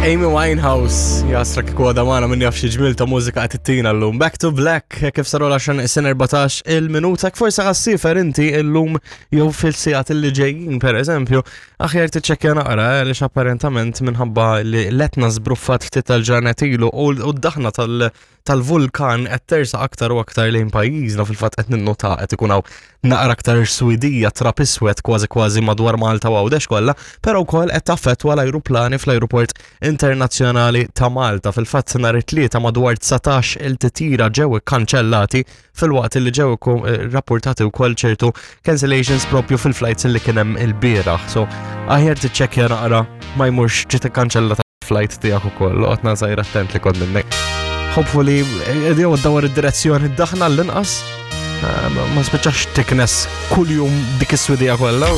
Amy Winehouse, jasra kieku għadha magħna min jaf xi ġmil ta' mużika qed ittina llum. Back to Black, kif saru l-10 sin 14 il-minuta, forsi ħassifer inti illum jew fil-sigħat li ġejjin pereżempju, aħjar tiċċekkja naqra għaliex apparentament minħabba li l-Etna żbruffat ftit tal-ġranet ilu u d-daħna tal- tal-vulkan qed tersaq aktar u aktar lejn pajjiżna fil-fatt qed ninnota qed ikun hawn naqra aktar swidija trab iswed kważi kważi madwar Malta u Għawdex kollha, però wkoll qed taffettwa l-ajruplani fl-ajruport internazzjonali ta' Malta. Fil-fatt nhar it-Tlieta madwar 19 il-titjira ġew ikkanċellati filwaqt li ġew eh, rapportati wkoll ċertu cancellations propju fil-flights li kien hemm il-bieraħ. So aħjar tiċċekkja naqra ma jmurx ġiet ikkanċellata flight tiegħek ukoll, oqgħod żgħir attent li kont minnek. Hopefully, jew dawar id-direzzjoni daħna l-inqas, eh, ma spiċċax tiknes kuljum dik is-swidija kollha.